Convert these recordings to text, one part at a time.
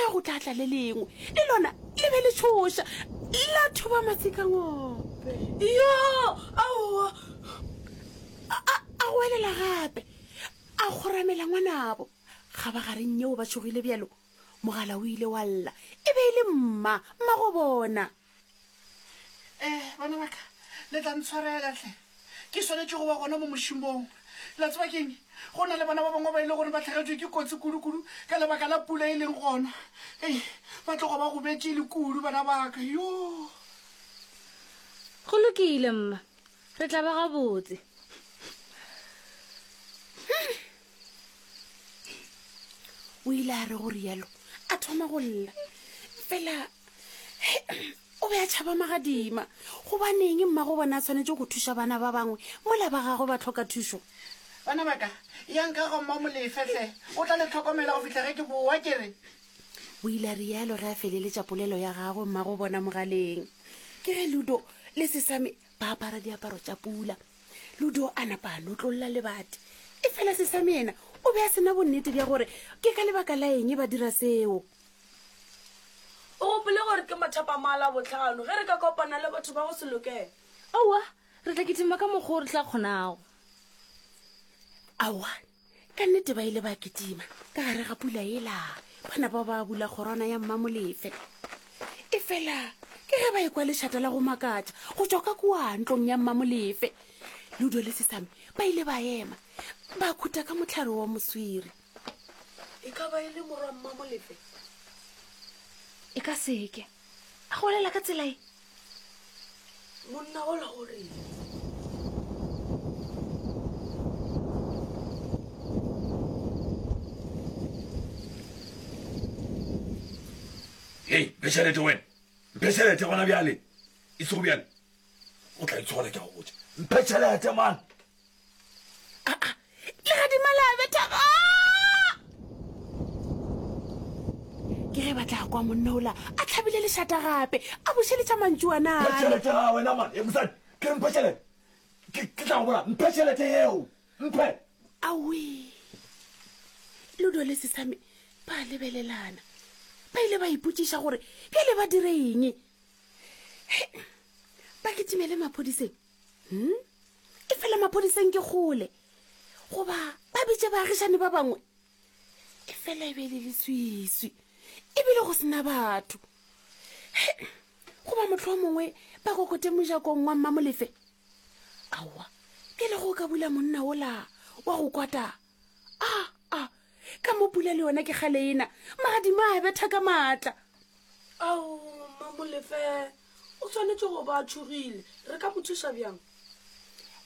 ge go tla tla le lengwe, le lona le be le tšhoša, la thoba matsikangope. Yo! Aowa! A, a, a goelela gape, a kgoramela ngwanabo. Kgabagareng yeo ba tšhogile bjalo, mogala o ile wa lla. E be e le mma, mmagobona. Eh, bana ba ka, le tla ntshwarela hle. Ke swanetše go ba gona mo mošomong. La tseba ke'ng? Go na le bana ba bangwe ba e le gore ba hlagetšwe ke kotsi kudu-kudu ka lebaka la pula e leng gona. Ei, ba tloga ba gobetše e le kudu bana ba ka. Yoo! Go lokile, mma. Re tla ba gabotse. O ile a re go rialo a thoma go lla. Fela o be a tšhaba magadima. Gobaneng mmago bona a swanetše go thuša bana ba bangwe mola ba gagwe ba hloka thušo? Bana ba ka, yang ka ga Mmamolefe hle, o tla le hlokomela go fihla ge ke boa, ke re. O ile a rialo ge a feleletša polelo ya gagwe mmago bona mogaleng. Ke ge Ludo le Sesame ba apara diaparo tša pula. Ludo a napa a notlolla lebati. Efela Sesame yena o be a se na bonnete bja gore ke ka lebaka la eng ba dira seo. O gopole gore ke mathapama a Labohlano ge re ka kopana le batho ba go se lokele. Aowa, re tla kitima ka mokgwa o re tla kgonago. Aowa, ka nnete ba ile ba kitima ka gare ga pula yela, ba napa ba bula kgorwana ya Mmamolefe. Efela ke ge ba ekwa lešata la go makatša go tšwa ka kua ntlong ya Mmamolefe. Ludo le Sesame ba ile ba ema, ba khuta ka mohlare wa moswiri. E ka ba e le morwa Mmamolefe? E ka seke. A golela ka tsela e. Monna ola o reng? Hei, mphe tšhelete wena. Mphe tšhelete gona bjale. E sego bjale. O tla itshola ke a go botša. Mphe tšhelete man. Aa, legadima la betha. Ke ge ba tla kwa monna ola a hlabile lešata gape, a bušeletša mantšu a Mphe nale. tšhelete ga wena man. E mosadi, ke re mphe tšhelete. Ke ke tla go bolaya. Mphe tšhelete yeo. Mphe. Aowii. Ludo le Sesame ba lebelelana. Ba ile ba ipotšiša gore bjale ba dire eng. He, ba kitimele maphodiseng? Hmm? Efela maphodiseng ke kgole. Goba ba bitše baagišani ba bangwe? Efela e be e le leswiswi, ebile go sena batho. He, goba mohlomongwe mongwe ba kokote mojakong wa Mmamolefe? Aowa, bjale go ka bula monna wola wa go kwata. A, a, ka mo pula le yona ke kgale ena, magadima a betha ka maatla. Ao, Mmamolefe o swanetše go ba a tšhogile. Re ka mo thuša bjang?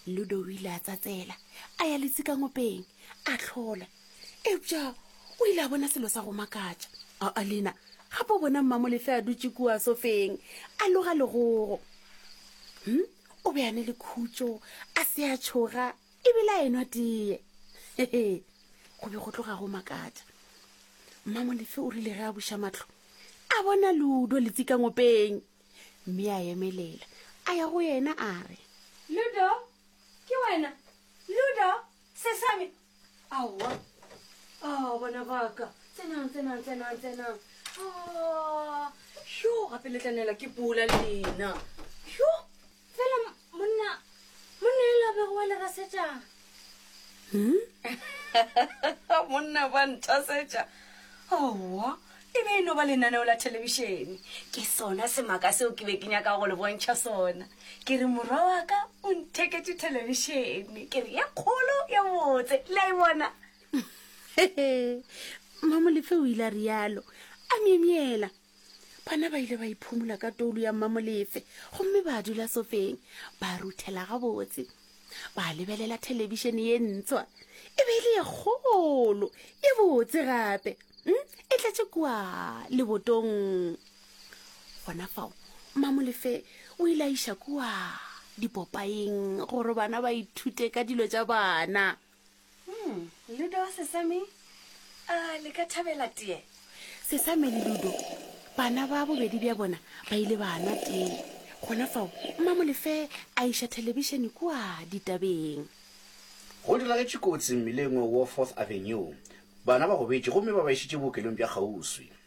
Ludo o ile a tsatsela, a ya letsikangopeng, a hlola. Eupša o ile a bona selo sa go makatša. Aa, Lena, gape o bona Mmamolefe a dutše kua sofeng, a loga legogo. Hm, o be a ne le khutšo, a se a tšhoga, ebile a enwa teye. Hehe, go be go tloga go makatša. Mmamolefe o rile ge a buša mahlo, a bona Ludo letsikangopeng, mme a emelela, a ya go yena a re. Ludo, ke wena? Ludo, Sesame! Aowa, ao, bana ba ka, tsenang, tsenang, tsenang, tsenang. Ah, yo, gape le tla nela ke pula lena. Yo, fela monna, monna ela bego wa le rasetša. Hmm? Monna ba nthasetša. Aowa, e be e no ba lenaneo la thelebišene. Ke sona semaka seo ke be ke nyaka go le bontšha sona. Ke re morwa wa ka o ntheketše thelebišene. Ke re ye kgolo ye botse. Le a e bona? Mmamolefe o ile a realo a myemyela. Bana ba ile ba iphumola ka toulo ya Mmamolefe gomme ba dula sofeng ba ruthela gabotse. Ba lebelela thelebišene ye ntshwa. E be e le ye kgolo, ye botse gape. Mm, e tletše kua lebotong. Gona fao, Mmamolefe o ile a iša kua dipopaeng gore bana ba ithute ka dilo tša bana. Hmm, Ludo, Sesame, a le ka thabela tee? Sesame le Ludo, bana ba bobedi bja bona ba ile ba nwa tee. Gona fao, Mmamolefe a iša thelebišene kua ditabeng. Go diragetše kotsi mmileng wa Fourth Avenue. Bana ba gobetše gomme ba ba išitše bookelong bja kgauswi.